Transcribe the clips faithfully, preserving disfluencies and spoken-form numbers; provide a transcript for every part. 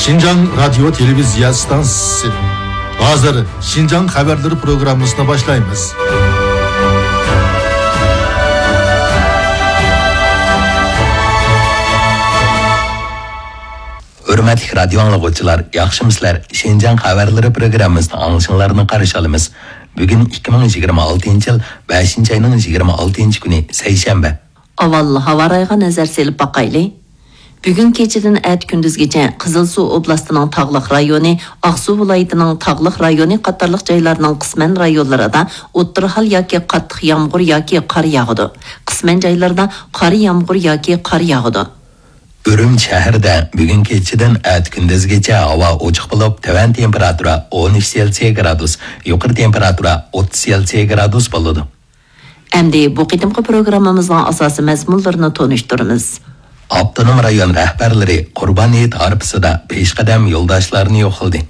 شىنجاڭ رادىيو تېلېۋىزىيە ئىستانسىسى. ھازىر شىنجاڭ خەۋەرلىرى پروگراممىسىنى باشلايمىز. ھۆرمەتلىك رادىيو ئاڭلىغۇچىلار، ياخشىمۇسىلەر؟ شىنجاڭ خەۋەرلىرى پروگراممىسىنى ئاڭلىشىڭلارنى قارشى ئالىمىز. بۈگۈن ئىككى مىڭ يىگىرمە ئالتىنچى يىل بەشىنچى ئاينىڭ يىگىرمە ئالتىنچى كۈنى، سەيشەنبە. ئاۋۋال ھاۋا رايىغا نەزەر سېلىپ باقايلى. بۈگۈن كېچىدىن ئەتە كۈندۈزگىچە قىزىلسۇ ئوبلاستىنىڭ تاغلىق رايونى، ئاقسۇ ۋىلايىتىنىڭ تاغلىق رايونى قاتارلىق جايلارنىڭ قىسمەن رايونلىرىدا ئوتتۇرا ھال ياكى قاتتىق يامغۇر ياكى قار ياغىدۇ. قىسمەن جايلاردا قارا يامغۇر ياكى قار ياغىدۇ. ئۈرۈمچى شەھىرىدە بۈگۈن كېچىدىن ئەتە كۈندۈزگىچە ھاۋا ئوچۇق بولۇپ، تۆۋەن تېمپېراتۇرا ئون ئۈچ سېلسىيە گرادۇس، يۇقىرى تېمپېراتۇرا ئوتتۇز سېلسىيە گرادۇس بولىدۇ. ئەمدى بۇ قېتىمقى پروگراممىمىزنىڭ ئاساسىي مەزمۇنلىرىنى تونۇشتۇرىمىز. ئاپتونوم رايون رەھبەرلىرى قۇربان ھېيت ئارپىسىدا پېشقەدەم يولداشلارنى يوقلىدى.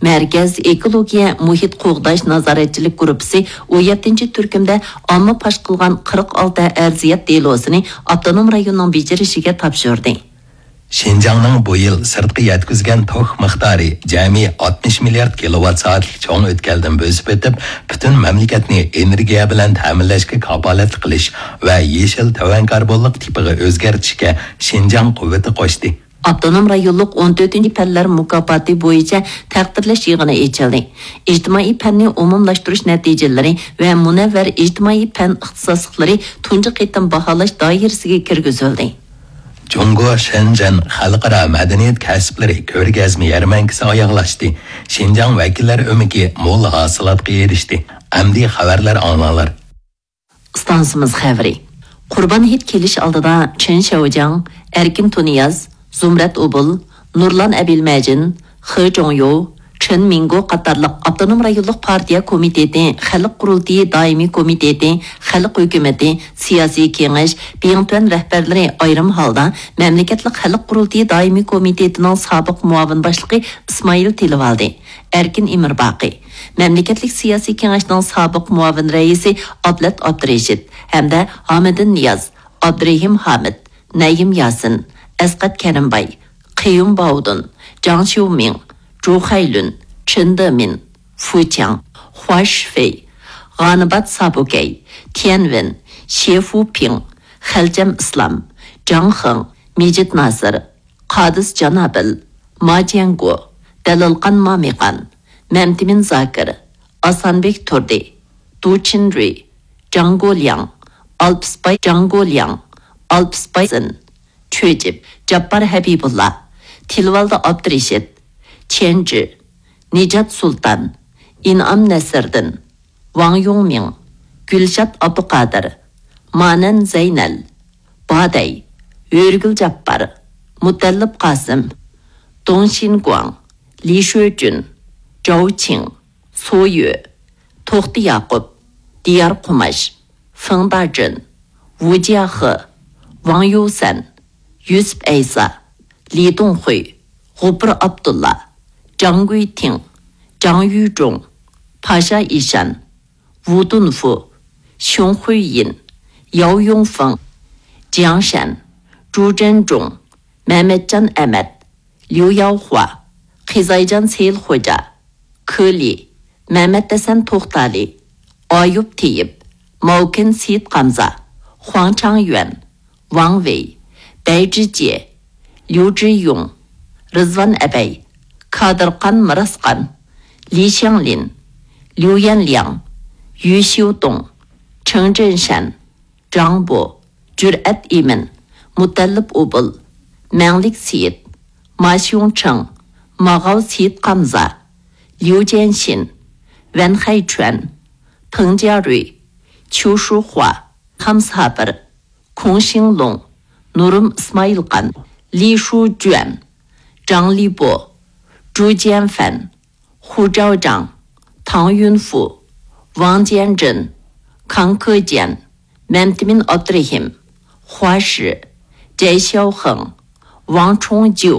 مەركەز ئېكولوگىيە مۇھىت قوغداش نازارەتچىلىك گۇرۇپپىسى ئون يەتتىنچى تۈركۈمدە ئامما پاش قىلغان قىرىق ئالتە ئەرزىيەت دېلوسىنى ئاپتونوم رايوننىڭ بېجىرىشىگە تاپشۇردى. شىنجاڭنىڭ بۇ يىل سىرتقا يەتكۈزگەن توك مىقدارى جەمئىي ئاتمىش مىليارد كىلوۋات سائەتلىك چوڭ ئۆتكەلدىن بۆسۈپ ئۆتۈپ، پۈتۈن مەملىكەتنى ئېنېرگىيە بىلەن تەمىنلەشكە كاپالەتلىك قىلىش ۋە يېشىل تۆۋەن كاربونلۇق تىپىغا ئۆزگەرتىشكە شىنجاڭ قۇۋۋىتى قوشتى. ئاپتونوم رايونلۇق ئون تۆتىنچى پەنلەر مۇكاپاتى بويىچە تەقدىرلەش يىغىنى ئېچىلدى. ئىجتىمائىي پەننى ئومۇملاشتۇرۇش نەتىجىلىرى ۋە مۇنەۋۋەر ئىجتىمائىي پەن ئىختىساسلىقلىرى تۇنجى قېتىم باھالاش دائىرىسىگە كىرگۈزۈلدى. جۇڭگو شېنجېن خەلقئارا مەدەنىيەت كەسىپلىرى كۆرگەزمە يەرمەنكىسى ئاياغلاشتى. شىنجاڭ ۋەكىللەر ئۆمىكى مول ھاسىلاتقا ئېرىشتى. ئەمدى خەۋەرلەر ئاڭلاڭلار. ئىستانسىمىز خەۋىرى. قۇربان ھېيت كېلىش ئالدىدا چېن شياۋجياڭ، ئەركىن تۇنىياز، زۇمرەت ئوبۇل، نۇرلان ئەبىلمەجىن، خې جوڭيو، چېن مىڭگو قاتارلىق ئاپتونوم رايونلۇق پارتىيە كومىتېتى، خەلق قۇرۇلتىيى دائىمىي كومىتېتى، خەلق ھۆكۈمىتى، سىياسىي كېڭەش، بىڭتۈەن رەھبەرلىرى ئايرىم ھالدا مەملىكەتلىك خەلق قۇرۇلتىيى دائىمىي كومىتېتىنىڭ سابىق مۇئاۋىن باشلىقى ئىسمائىل تىلىۋالدى، ئەركىن ئىمىرباقى، مەملىكەتلىك سىياسىي كېڭەشنىڭ سابىق مۇئاۋىن رەئىسى ئابلەت ئابدۇرېشىت ھەمدە ھامىدىن نىياز، ئابدۇرېھىم ھامىت، نەيىم ياسىن، ئەسقەت كەرىمباي، قېيۇم باۋدۇن، جاڭ شيۇمىڭ، جۇ خەيلۈن، چېن دېمىن، فۇ چياڭ، خۇا شىفېي، غانىبات سابۇكەي، تيەنۋېن، شې فۇپىڭ، خەلچەم ئىسلام، جاڭ خېڭ، مىجىت ناسىر، قادىس جانابىل، ما جيەنگو، دەلىلقان مامىقان، مەمتىمىن زاكىر، ئاسانبېك تۇردى، دۇ چىن رۈي، جاڭ گولياڭ، ئالپىسباي جاڭ گولياڭ، ئالپىسباي سىن، چۆجۈپ، جاپپار ھەبىبۇللا، تىلىۋالدى ئابدۇرېشىت، چيەنجۈ، نىجات سۇلتان، ئىنئام نەسىردىن، ۋاڭ يۇڭمىڭ، گۈلشات ئابدۇقادىر، مانەن زەينەل، بادەي، ھۆرىگۈل جاپپار، مۇتەللىپ قاسىم، دۇڭ شىنگۇاڭ، لى شۆجۈن، جاۋ چىڭ، سو يۆ، توختى ياقۇپ، دىيار قۇماش، فېڭ داجۈن، ۋۇ جياخې، ۋاڭ يۇسەن، يۈسۈپ ئەيسا، لى دۇڭخۇي، غوپۇر ئابدۇللا، جاڭ گۈيتىڭ، جاڭ يۈجۇڭ، پاشا ئىشان، ۋۇ دۇنفۇ، شيۇڭ خۇييىن، ياۋ يۇڭفېڭ، جياڭ شەن، جۇ جيەنجۇڭ، مەمەتجان ئەمەت، ليۇ ياۋخۇا، قىزايجان سېيىل خوجا، كې لى، مەمەت ھەسەن توختالى، ئايۇپ تېيىپ، ماۋكېن سېيىت قامزا، خۇاڭ چاڭيۈەن، ۋاڭ ۋېي، بەي جىجيې، ليۇ جىيۇڭ، رىزۋان ئەبەي، كادىرخان مىراسخان، لى شياڭلىن، ليۇ يەنلياڭ، يۈ شيۇدۇڭ، چېڭ جېنشەن، جاڭ بو، جۈرئەت ئىمىن، مۇتەللىپ ئوبۇل، مەڭلىك سېيىت، ما شيۇڭ چېڭ، ماغاۋ سېيىت قامزا، ليۇ جيەنشىن، ۋەن خەي چۈەن، پېڭ جيا رۈي، چيۇ شۇ خۇا، خام سابىر، كۇڭ شىڭ لۇڭ، نۇرۇم ئىسمائىلخان، لى شۇ جۈەن، جاڭ لى بو، جۇ جيەن فەن، خۇ جاۋ جاڭ، تاڭ يۈن فۇ، ۋاڭ جيەن جېن، كاڭ كې جيەن، مەمتىمىن ئابدۇرېھىم، خۇا شى، جەي شياۋ خېڭ، ۋاڭ چۇڭ جيۇ،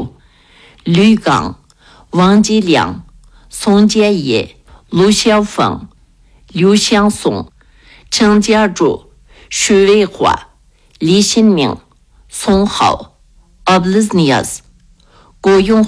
لۈي گاڭ، ۋاڭ جى لياڭ، سۇڭ جيە يې، لۇ شياۋ فېڭ، ليۇ شياڭ سۇڭ، چېڭ جيا جۇ، شۈ ۋېي خۇا، لى شىن مىڭ، سۇڭ خاۋ، ئابلىز نىياز، گو يۇڭ